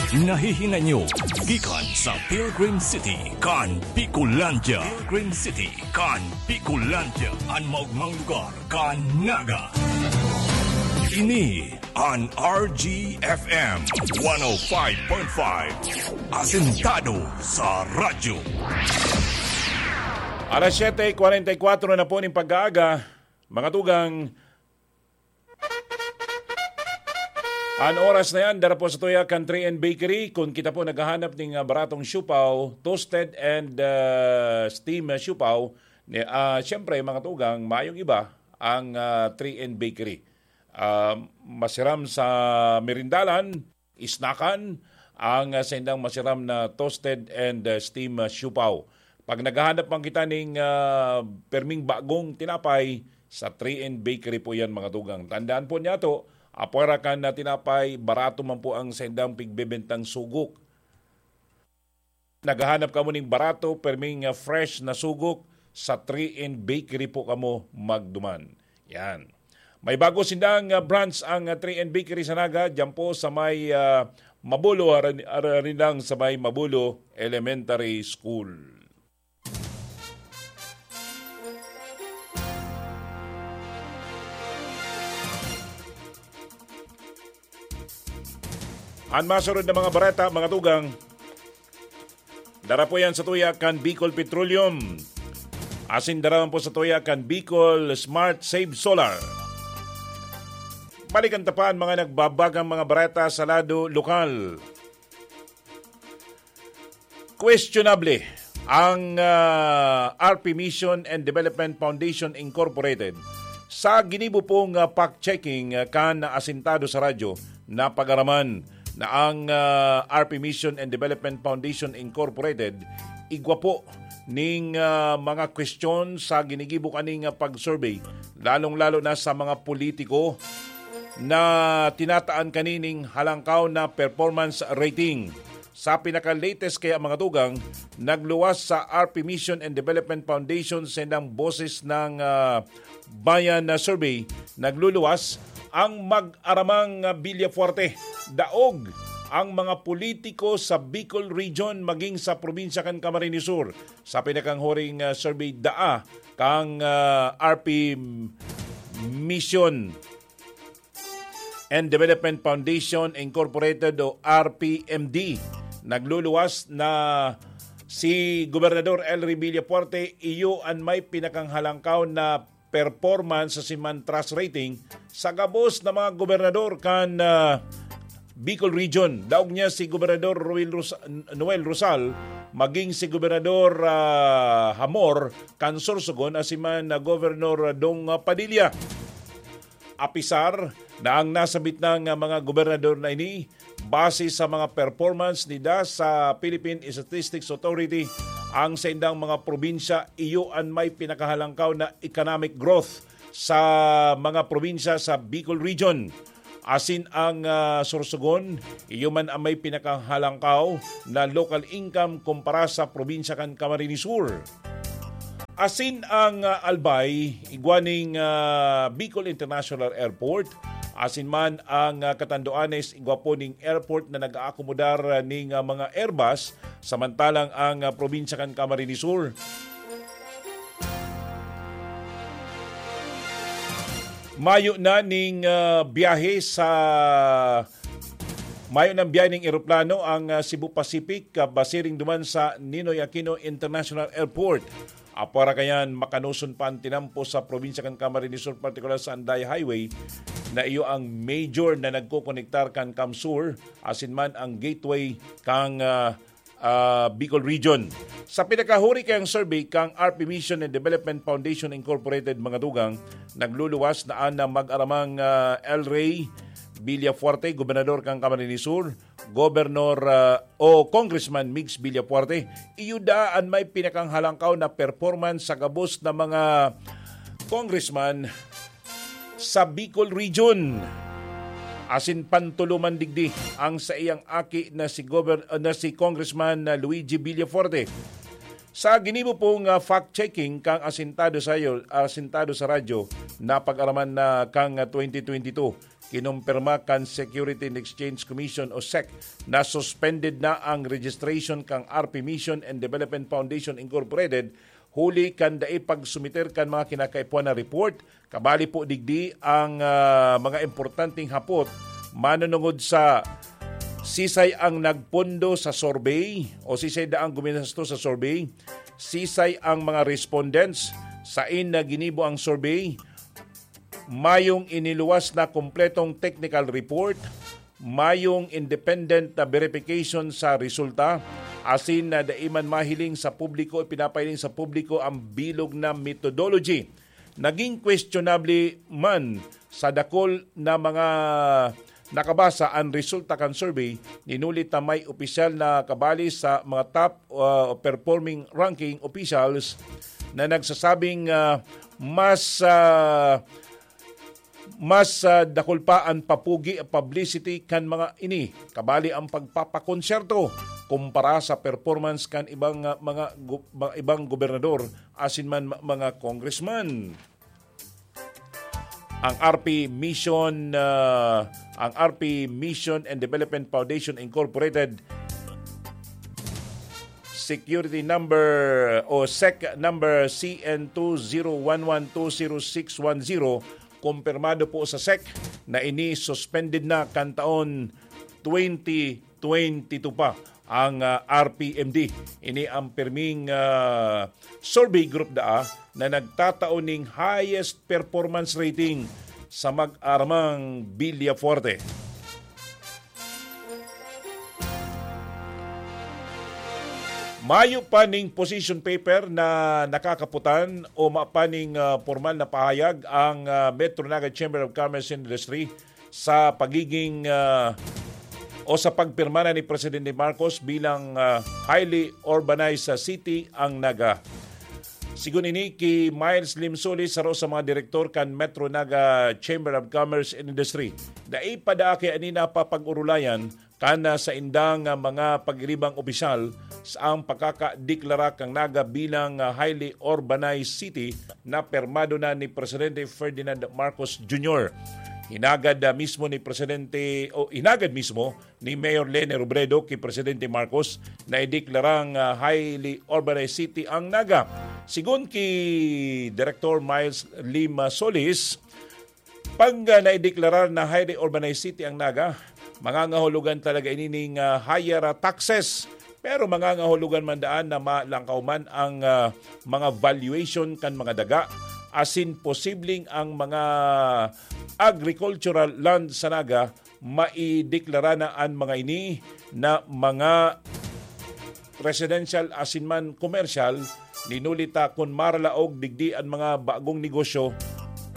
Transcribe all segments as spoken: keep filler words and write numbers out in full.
Nahihinay nyo gikan sa Pilgrim City kan Bicolandia. Pilgrim City kan Bicolandia, an maogmang lugar kan Naga. Ini an R G F M one oh five point five, asentado sa radyo. Alas siyete kwarenta y kwatro na po ning pag-aaga, mga tugang. An oras na yan, dara po sa tuya kan three N Bakery. Kung kita po naghahanap ning, ah, baratong siopao, toasted and, ah, steam, ah, siopao, ni, ah, siyempre, mga tugang, mayong iba ang, ah, three N Bakery. Ah, masiram sa merindalan, isnakan, ang, ah, saindang masiram na toasted and, ah, steam, ah, siopao. Pag naghahanap man kita ning, ah, perming bagong tinapay, sa three N Bakery po yan, mga tugang. Tandaan po niyato, apwera kan, ah, tinapay, barato man po ang saindang pigbebentang sugok. Naghahanap kamo ning barato, perming, ah, fresh na sugok, sa three N Bakery po kamo magduman. Yan. May bago sindang, ah, branch ang, ah, three N Bakery sa Naga, diyan po sa may, ah, Mabulo, arin, arin lang sa may Mabulo Elementary School. An masunod na mga bareta, mga tugang, dara po yan sa tuya kan Bicol Petroleum. Asin dara man po sa tuya kan Bicol Smart Save Solar. Balikan ta pa an mga nagbabagang mga bareta sa lado lokal. Questionable ang, ah, R P Mission and Development Foundation Incorporated sa ginibo pong, ah, fact-checking, ah, kan asentado sa radyo na pag-araman na ang, ah, R P Mission and Development Foundation Incorporated igwa po ning, ah, mga kwestiyon sa ginigibo kaning, ah, pag-survey, lalong-lalo na sa mga politiko na tinataan kanining halangkaw na performance rating. Sa pinaka-latest kaya, mga tugang, nagluwas sa R P Mission and Development Foundation sa indang Boses ng, ah, Bayan na survey, nagluluwas ang mag-aramang, ah, Villafuerte. Daog ang mga politiko sa Bicol Region maging sa probinsya kan Camarines Sur. Sa pinakanghuring, ah, survey daa kang, ah, R P Mission and Development Foundation Incorporated o R P M D. Nagluluwas na si Gobernador Elry Villafuerte, iyo an may pinakanghalangkaw na performance sa siman trust rating sa gabos na mga gobernador kan, ah, Bicol Region. Daog niya si Gobernador Roel Ros-, Noel Rosal, maging si Gobernador, ah, Hamor kan Sorsogon, asin man na Gobernador Dong Padilla. Apisar na ang nasabit na nga mga gobernador na ini, base sa mga performance nida sa Philippine Statistics Authority, ang saindang mga probinsya iyo an may pinakahalangkaw na economic growth sa mga probinsya sa Bicol Region. Asin ang, ah, Sorsogon, iyo man ang may pinakahalangkaw na local income kumpara sa probinsya kan Camarines Sur. Asin ang, ah, Albay, igwa ning, ah, Bicol International Airport. Asin man ang, ah, Catanduanes, igwa po ning airport na nag-aakomodar, ah, ning, ah, mga Airbus, samantalang ang, ah, probinsya kan Camarines Sur, mayo na ning, ah, biyahe sa, mayo nang biyahe ning eroplano ang, ah, Cebu Pacific, ah, basiring duman sa Ninoy Aquino International Airport. Apwera kayan, makanoson pa an tinampo sa probinsya kan Camarines Sur, partikular sa Anday Highway, na iyo ang major na nagkokonektar kan CamSur, asin man ang gateway kan, ah, ah, Bicol Region. Sa pinakahuri kayang survey kan R P Mission and Development Foundation Incorporated, mga tugang, nagluluwas na an mag-aramang, ah, Elry Villafuerte, gobernador kan Camarines Sur, Gobernador, ah, o Congressman Migs Villafuerte, iyo daa an may pinakanghalangkaw na performance sa gabos na mga congressman sa Bicol Region. Asin pantulo man digdi ang saiyang aki na si Gober-, na si Congressman, ah, Luigi Villafuerte. Sa ginibo pong, ah, fact-checking kang asentado sayo, asentado sa radyo, napag-araman na kang, ah, twenty twenty-two, kinumpirma kan Security and Exchange Commission o sec na suspended na ang registration kan R P Mission and Development Foundation Incorporated huli kan dai pagsumiter kan mga kinakaipuhan na report. Kabali po digdi ang, ah, mga importanteng hapot manunungod sa sisay ang nagpondo sa survey o sisay daang guminasto sa survey, sisay ang mga respondents, sain na ginibo ang survey, mayong iniluwas na kompletong technical report, mayong independent na verification sa resulta, asin na dai man mahiling sa publiko, ipinapahiling sa publiko ang bilog na methodology. Naging questionable man sa dakul na mga nakabasa an resulta kan survey, ninuli ta may opisyal na kabali sa mga top, ah, performing ranking officials na nagsasabing, ah, mas, ah, mas, ah, dakul pa an papugi, publicity kan mga ini, kabali ang pagpapakonsyerto kumpara sa performance kan ibang, ah, mga gu-, mga ibang gobernador asin man ma-, mga congressman. Ang R P Mission, ah, ang R P Mission and Development Foundation Incorporated security number o sec number C N two zero one one two zero six one zero, kumpirmado po sa sec na ini suspended na kan taon twenty twenty-two pa ang, ah, R P M D. Ini ang pirming, ah, survey group daa na nagtatao ning highest performance rating sa mag-aramang Villafuerte. Mayo pa ning position paper na nakakaputan o mayo pa ning, ah, pormal na pahayag ang, ah, Metro Naga Chamber of Commerce and Industry sa pagiging, ah, o sa pagpirma na ni Presidente Marcos bilang, ah, highly urbanized, ah, city ang Naga. Sigon ini ki Miles Lim Solis, saro sa mga direktor kan Metro Naga Chamber of Commerce and Industry, dai pa daa kaya ini napapag-orolayan kan, ah, saindang, ah, mga pagiribang opisyal sa ang pagkakadeklara kan Naga bilang, ah, highly urbanized city na pirmado na ni Presidente Ferdinand Marcos Junior. Hinagad, ah, mismo ni Presidente, o hinagad mismo ni Mayor Leni Robredo ki Presidente Marcos na ideklarang, ah, highly urbanized city ang Naga. Sigon ki Director Miles Lima Solis, pag, ah, naideklarar na highly urbanized city ang Naga, mangangahulugan talaga ini ning, ah, higher, ah, taxes. Pero mangangahulugan man daan na malangkaw man ang, ah, mga valuation kan mga daga, asin posibleng ang mga agricultural land sa Naga maideklara na an mga ini na mga residential asin man komersyal, ninuli ta kun maralaog digdi an mga bagong negosyo,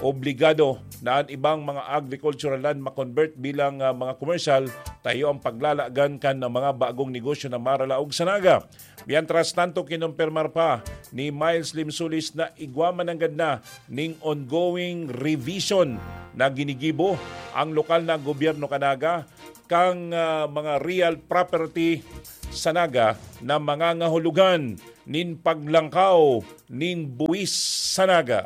obligado na an ibang mga agricultural land ma-convert bilang, ah, mga komersyal, ta iyo ang paglalagan kan mga bagong negosyo na maralaog sa Naga. Mientras tanto, kinumpirmar pa ni Miles Limsulis na igwa man nanggad na ning ongoing revision na ginigibo ang lokal na gobyerno kan Naga kang, ah, mga real property sa Naga na mangangahulugan nin paglangkaw nin buwis sa Naga.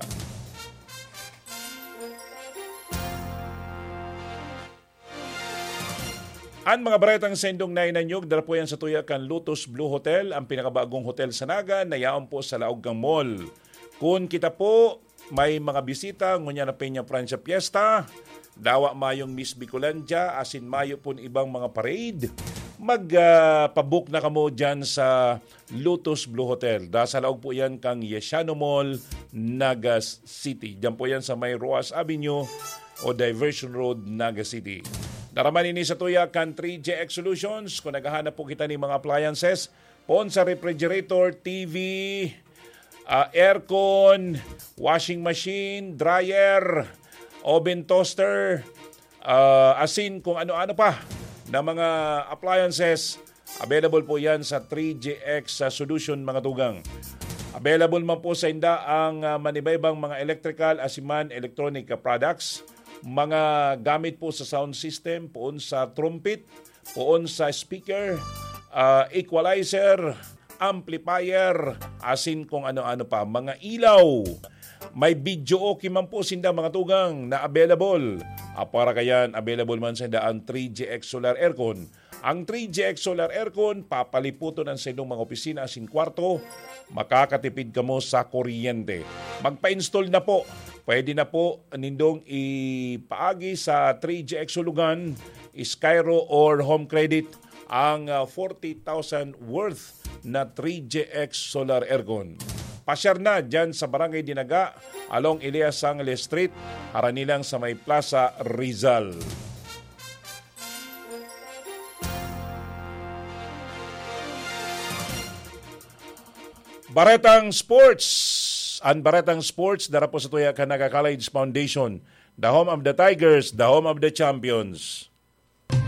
An mga baretang saindong nainanyog, dara po yan sa tuya kan Lotus Blue Hotel, ang pinakabagong hotel sa Naga, na yaon po sa laog kan mall. Kun kita po may mga bisita, ngunyan na Peña Francia Fiesta, dawa mayong Miss Bicolandia, asin mayo pon ibang mga parade, mag, ah, pabook na kamo dyan sa Lotus Blue Hotel. Da sa laog po yan kang Yesiano Mall, Naga City. Diyan po yan sa may Roas Avenue o Diversion Road, Naga City. Dara man ini sa tuya kan three J X Solutions. Kung naghahanap po kita ning mga appliances, poon sa refrigerator, T V, ah, aircon, washing machine, dryer, oven toaster, ah, asin kung ano-ano pa na mga appliances, available po yan sa three G X sa Solution, mga tugang. Available man po sa inda ang, ah, manibaybang mga electrical asin man electronic, ah, products, mga gamit po sa sound system, poon sa trumpet, poon sa speaker, ah, equalizer, amplifier, asin kung ano-ano pa, mga ilaw. May video okay man po sinda, mga tugang, na available. Apara kayan, available man sinda ang three G X Solar Aircon. Ang three G X Solar Aircon, papaliputon ang sa inyong mga opisina asin kwarto, makakatipid kamo sa kuryente. Magpa-install na po. Pwede na po nindong ipaagi sa three G X Sulugan, Skyro or Home Credit ang ah, forty thousand worth na three G X Solar Aircon. Pasyar na dyan sa Barangay Dinaga, along Elias Sangles Street, harani lang sa may Plaza Rizal. Baretang Sports. Ang Baretang Sports, dara po sa tuya kan Naga College Foundation. The home of the Tigers, the home of the champions.